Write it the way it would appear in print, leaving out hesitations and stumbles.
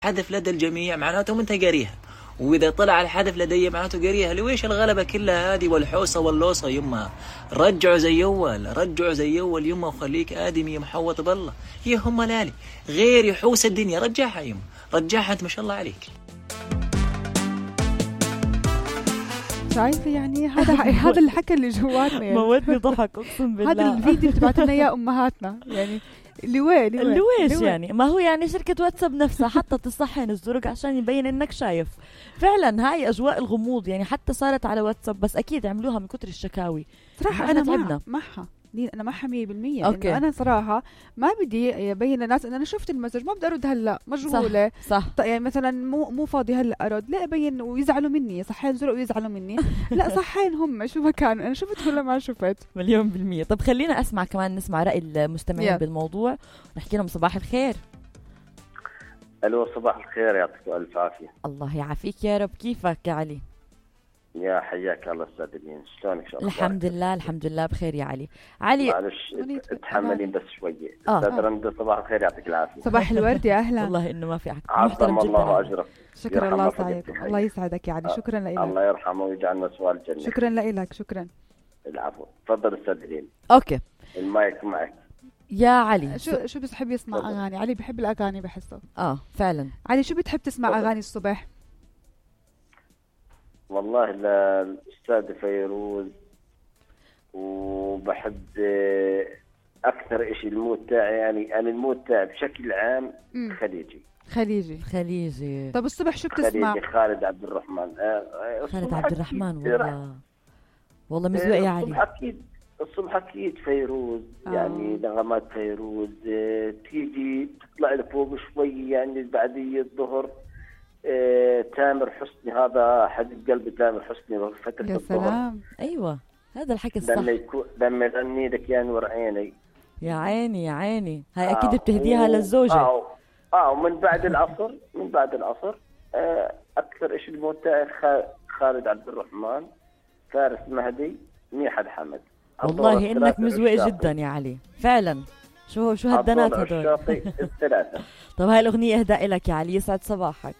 حذف لدى الجميع معناته أنت قاريها، وإذا طلع الحذف لدي معناته قاريها. لويش الغلبة كلها هذه والحوسة واللوصة يما؟ رجعوا زي أول، رجعوا زي أول يما، وخليك آدمي محوط بالله. هي هم لالي غير يحوس الدنيا، رجعها يما، رجعها أنت ما شاء الله عليك. شايفة يعني هذا الحكي اللي جواتنا يعني. موتني ضحك أقسم بالله. هذا الفيديو تبعت لنا إياه أمهاتنا يعني. لويش يعني؟ ما هو يعني شركة واتساب نفسها حطت الصحن الزرق عشان يبين انك شايف. فعلا هاي اجواء الغموض يعني، حتى صارت على واتساب، بس اكيد عملوها من كتر الشكاوي. صراحة انا معها انا معها 100%. انه انا صراحة ما بدي يبين الناس ان انا شفت المسج، ما بدي ارد هلا، مشغولة. صح. يعني مثلا مو فاضي هلا ارد، لا ابين ويزعلوا مني، صحين زرق ويزعلوا مني. لا صحين هم شو ما كانوا، انا شفت ولا ما شفت. 100%. طب خلينا اسمع كمان، نسمع رأي المستمعين بالموضوع، نحكي لهم صباح الخير. الو صباح الخير، يعطيك الف عافية. الله يعافيك يا رب. كيفك يا علي؟ يا حياك الله استاذ دين، شلونك؟ الحمد لله الحمد لله بخير يا علي. علي معلش اتحملين بس شوية. استاذ رند صباح الخير، يعطيك العافية. صباح الورد يا اهلا. والله انه ما في حق. عظم الله اجرك. شكرا الله سعيد. الله يسعدك يا علي. شكرا لك. الله يرحمه ويجعلنا سوال الجنة. شكرا لك. شكرا. العفو. تفضل استاذ دين. اوكي المايك معك يا علي. شو بتحب يسمع اغاني؟ علي بحب الاغاني بحسه. فعلا. علي شو بتحب تسمع اغاني الصبح؟ والله الأستاذ فيروز، وبحب أكثر إشي المود تاعي، يعني أنا المود تاعي بشكل عام خليجي. طب الصبح شو بتسمع؟ خليجي. خالد عبد الرحمن. خالد عبد الرحمن. والله مزوق يا علي. الصبح أكيد فيروز. يعني نغمات فيروز تيجي تطلع لفوق شوي، يعني بعدية الظهر. تامر حسني، هذا حبيب قلبي تامر حسني فترة الظهر. يا سلام. أيوة هذا الحكي الصح. لما يغني لك يا نور عيني. يا عيني هاي أكيد بتهديها للزوجة. ومن بعد العصر أكثر إشي الموت تاعي خالد عبد الرحمن، فارس مهدي، ميحد حمد. والله إنك مزوق جدا يا علي فعلا. شو هالدنات هدول. الثلاثة. طب هاي الأغنية إهداء لك يا علي، يسعد صباحك.